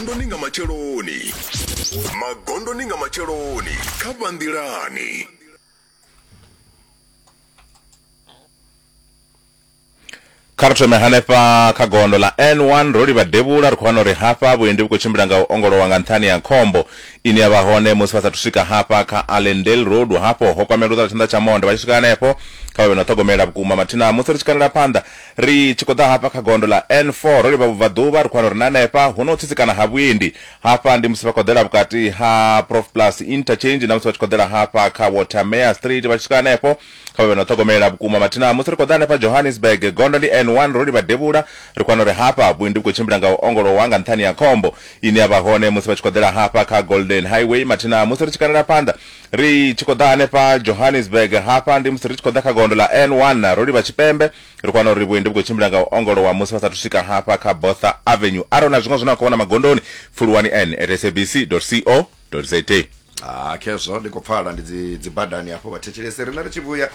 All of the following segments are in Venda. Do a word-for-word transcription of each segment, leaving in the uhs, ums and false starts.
Magondoni nga matsheloni. Magondoni nga matsheloni kha Vhanḓilani. Kha ri thome hanefha kha gondo ḽa N one ro livha devhula, ri khou wana uri hafha vhuendi vhu khou tshimbila nga u ongolowa nga nṱhani ha khombo ine ya vha hone musi vha sathu swika hafha kha Allendale Road. Hafho ho kwamea luṱa lwa tshanḓa tsha monde, vha tshi swika hanefho kha vha vhe na u ṱhogomela vhukuma mathina. Musi ri tshi kandela phanḓa ri tshi khou ḓa hafha kha gondo ḽa N four ro livha vhubvaḓuvha, ri khou wana uri na hanefha hu na u tsitsikana ha vhuendi. Hafha ndi musi vha khou ḓela vhukati ha Prof Plus Interchange na musi vha tshi khou ḓela hafha kha Watermere Street, vha tshi swika hanefho kha vha vhe na u ṱhogomela vhukuma mathina. Musi ri khou ḓa hanefha Johannesburg, gondo ndi N one ro livha devhula, ri khou wana uri hafha vhuendi vhu khou tshimbila nga u ongolowa nga nṱhani ha khombo ine ya vha hone musi vha tshi khou ḓela hafha kha Golden Highway. Mathina musi ri tshi kandela phanḓa ri tshi khou ḓa hanefha Johannesburg, hafha ndi musi ri tshi khou ḓa kha gondo ḽa N one ro livha tshipembe, ri khou wana uri vhuendi vhu khou tshimbila nga u ongolowa musi vha sathu swika hafha kha Botha Avenue. Arali na zwiṅwe zwine wa khou vhona magondoni, pfuluwani n at sabc dot co dot za. Ah, khezwo ndi khou pfala ndi dzi dzi badani hafho vhathetshelesi. Riṋe ri tshi vhuya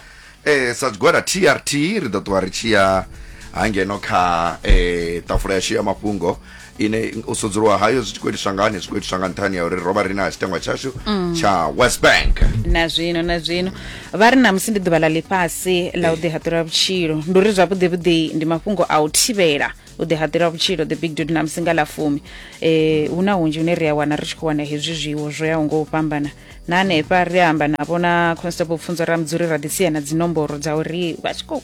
eh sa tshigwada T R T ri ḓo ṱuwa ri tshi ya hangeno kha eh ṱafula yashu ya mafhungo ine u sudzuluwa hayo zwi tshi khou itiswa ngani, zwi khou itiswa nga nṱhani ya uri ro vha ri na tshitengwa tshashu tsha West Bank. Na zwino na zwino vha ri namusi ndi ḓuvha ḽa ḽifhasi ḽa u ḓihaṱula vhutshilo. Ndi uri zwavhuḓi vhuḓi ndi mafhungo a u thivhela u ḓihaṱula vhutshilo, the big dude namusi nga ḽa fumi. Eh hu na hunzhi hune ri a wana ri tshi khou wana hezwi zwiwo zwo yaho ngo u fhambana. Na hanefha ri amba navho na Constable Pfunzo Ramudzuri ra ḓi sia na dzinomboro dza uri vha tshi khou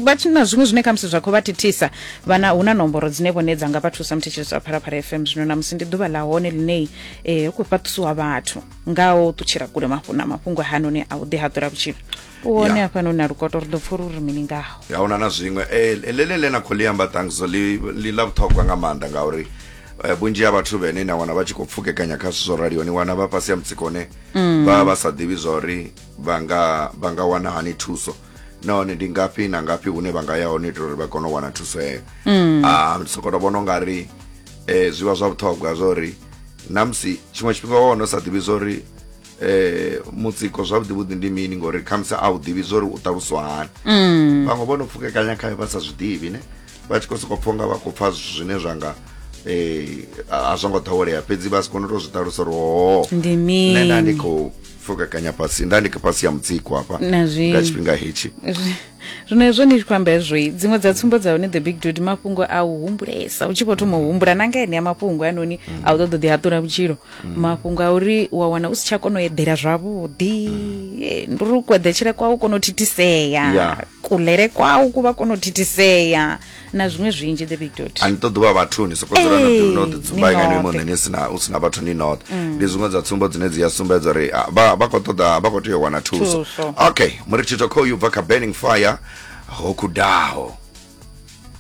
vha tshi na zwiṅwe zwine khamusi zwa khou vha thithisa, vhana hu na nomboro dzine vhone dza nga vha thusa muthetshelesi wa Phalaphala F M. Zwino namusi ndi ḓuvha ḽa hone ḽine eh hu khou fhaṱusiwa vhathu nga u ṱutshela kule mafhu na mafhungo hanoni a u ḓihaṱula vhutshilo. U hone Ya. hafhanoni na Lukoto ri ḓo pfha uri mini ngaho. Ya huna na zwiṅwe eh ḽeḽe ḽe na khou ḽi amba thanks ḽi ḽi ḽa vhuṱhogwa nga maanḓa ngauri eh, vhunzhi ha vhathu vhene na wana vha tshi khou pfukekanya kha zwithu zwo raliho, ni wana vha fhasi ya mutsiko une vha vha sa ḓivhi zwa uri vha nga vha nga wana hani thuso, nahone ndi ngafhi na ngafhi hune vha nga ya hone itela uri vha kone u wana thuso heyo. Ah, ndi sokou tou vhona ungari eh zwi vha zwa vhuṱhogwa zwa uri namusi tshiṅwe tshifhinga wa wana u sa ḓivhi zwa uri eh mutsiko zwavhuḓi vhuḓi ndi mini, ngori khamusi a u ḓivhi zwa uri u ṱaluswa hani. Vhaṅwe vho no pfukekanya khayo vha sa zwi ḓivhi ne, vha tshi khou sokou pfha unga vha khou pfha zwine zwa nga eh a zwo ngo ḓowelea, fhedzi vha si kone u tou zwi ṱalusa uri ho Ndi nṋe nda ndi mini? khou pfukekanya fhasi, nda ndi fhasi ya mutsiko hafha Na zwino. nga tshifhinga hetshi. Zwino hezwo ni tshi khou amba hezwo, dziṅwe dza tsumbo dza hone the big dude mafhungo a u humbulesa u tshi vho thoma u humbula na nga enea mafhungo anoni a u ṱoḓa u ḓihaṱula vhutshilo, mafhungo a uri wa wana u si tsha kona u eḓela zwavhuḓi, eh, ndi uri ku eḓetshele kwau kono u thithisea, Ya. kulele kwau ku vha kono u thithisea na zwiṅwe zwinzhi the big dude. A ni ṱoḓi vha vhathuni soko dzula no ḓi- no Ee, ḓi dzumba ni nga ni noṱhe. muṋe ni sina u sina vhathu ni noṱhe. Ndi zwiṅwe dza tsumbo dzine dzi a sumbedza uri ah, vha vha khou ṱoḓa vha khou tea u wana thuso. Thuso. Okay, murithito khoyu bva kha Burning Fire ho khudaho.